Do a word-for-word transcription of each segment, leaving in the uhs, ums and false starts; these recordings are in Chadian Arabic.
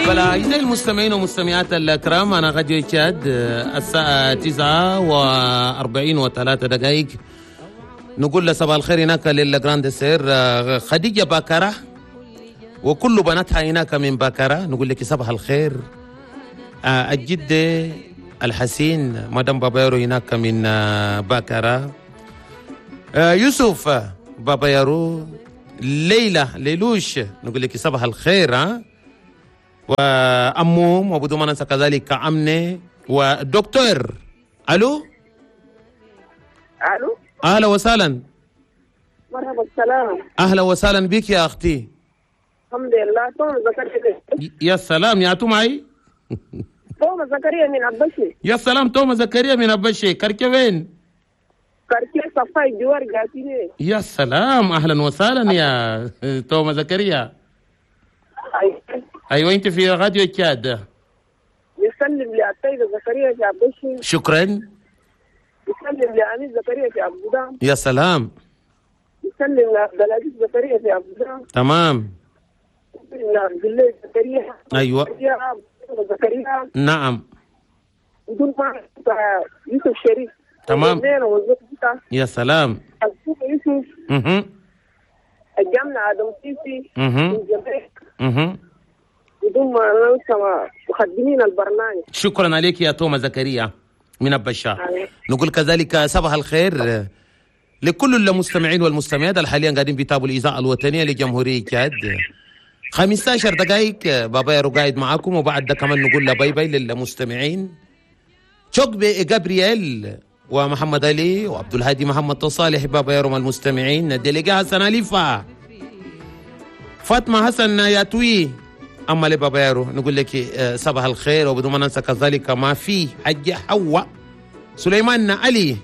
فلا أعزائي المستمعين والمستمعات الكرام، أنا راديو تشاد، الساعة تسعة وأربعين وثلاثة دقائق. نقول صباح الخير هناك لل grande sœur خديجة باكرة وكل بناتها هناك من باكرة، نقول لك صباح الخير. الجدة الحسين مدام بابايرو هناك من باكرة، يوسف بابايرو، ليلى ليلوش، نقول لك صباح الخير. ها وأمهم، وبدون ما ننسى كذلك أمنة ودكتور. ألو ألو، أهلا وسهلا. مرحبا، السلام. أهلا وسهلا بك يا أختي. الحمد لله. توم زكريا. يا سلام، يا تو معي؟ توم زكريا من أبشي. يا سلام، توم زكريا من أبشي، quartier وين؟ quartier صفاي جوار جاتيني. يا سلام، أهلا وسهلا يا توم زكريا. أيوة، أنت في راديو تشاد. يسلم للسيد زكريا في أبشي. شكرا. يسلم لأمين زكريا في أبو دام. يا سلام. يسلم لعبد العزيز زكريا في أبو دام. تمام. يسلم لعبد الله زكريا. أيوة. زكريا. نعم. بدون ما يوسف شريف. تمام. يا سلام. يوسف. اها. الجامعة آدم سيسي. اها. اها. بدون ما ننسى مخدمين البرنامج. شكرا عليك يا توما زكريا من أبشا. نقول كذلك صباح الخير لكل المستمعين والمستمعات حاليا قاعدين بيتابعوا الإذاعة الوطنية لجمهورية تشاد. خمسة عشر دقائق بابا يارو قاعد معاكم، وبعد ده كمان نقول bye bye للمستمعين. شوق جابرييل ومحمد علي وعبد الهادي محمد صالح بابا يارو المستمعين، délégué حسن أليفا، فاطمة حسن ياتوي، أما لبابا يارو نقول لك صباح الخير. وبدون ما ننسى كذلك ما في حج حواء سليمان علي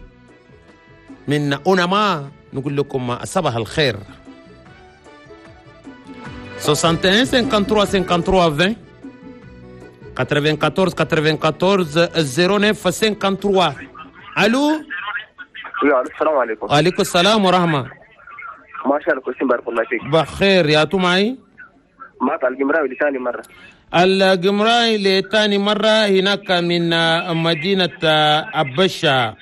من أونما، نقول لكم صباح الخير. واحد وستين ثلاثة وخمسين ثلاثة وخمسين عشرين أربعة وتسعين أربعة وتسعين صفر تسعة ثلاثة وخمسين. الو. السلام عليكم. وعليكم السلام ورحمة. ما شاء الله، كويسين بارك الله فيك. بخير يا تو معي؟ معك القمراوي لثاني مرة. القمراوي لثاني مرة هناك من مدينة أبشا.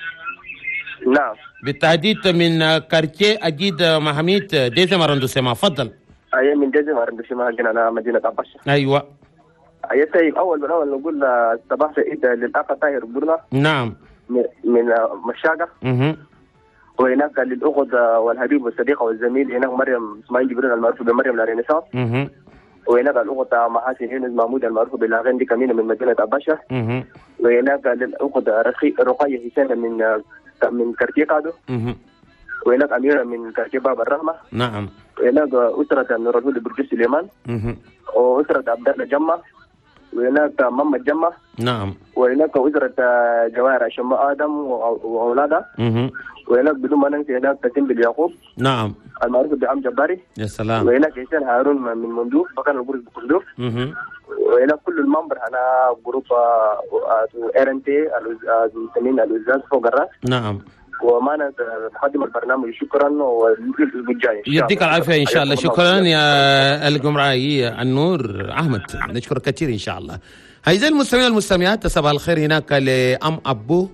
نعم. بالتحديد من quartier أجيد محميد deuxième arrondissement. تفضل. أي من deuxième arrondissement أنا مدينة أبشا. أيوة. أي طيب، أول بالأول نقول صباح سعيد للأخ طاهر برنا. نعم. من مشاقة. اها. وهناك للأخت والحبيب والصديقة والزميل هناك مريم إسماعيل جبريل المعروف بمريم الرينيسانس. اها. وهناك الأخت محاسن يونس محمود المعروف بالأغاني دي كمينة من مدينة أبشا. وهناك للأخت رقية حسين من من quartier كادو. وهناك أميرة من quartier باب الرحمة. نعم. وهناك أسرة نور الهدى برجس سليمان. وأسرة عبد الله جمة. وهناك محمد جمة. نعم. وهناك أسرة جواهر شماء آدم وأولادها. وهناك بدون ما ننسى هناك تسيم باليعقوب. نعم. المعروف بعم جباري. يا سلام. وهناك حسين هارون من مندوب مكان البرج بقندوف. وهناك كل ال membres أنا groupe RNT المسمين الوزاز فوق الراس. نعم. ومعنا مقدم البرنامج، شكرا والاسبوع الجاي. يديك العافية ان شاء الله. شكرا يا القمراي النور احمد، نشكرك كثير ان شاء الله. اعزائي المستمعين والمستمعات، صباح الخير هناك لام ابو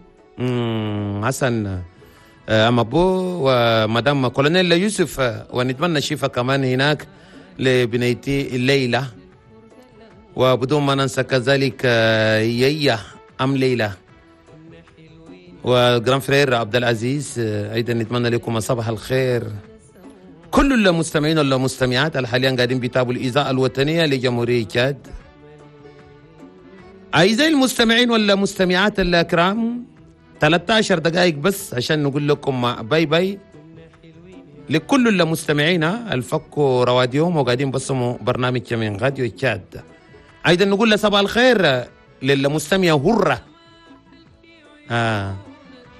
حسن ام ابو ومدام كولونيل يوسف، ونتمنى الشفاء كمان هناك لبنيتي ليلى، وبدون ما ننسى كذلك ييا ام ليلى و grand frère عبد العزيز. ايضا نتمنى لكم صباح الخير. كل المستمعين والمستمعات حاليا قاعدين بيتابعوا الاذاعة الوطنية لجمهوريه تشاد. اعزائي المستمعين والمستمعات الكرام، ثلاثة عشر دقائق بس عشان نقول لكم bye bye لكل المستمعين الفكوا رواديهم وقاعدين بسموا برنامج من راديو تشاد. ايضا نقول صباح الخير للمستمعة هره. آه.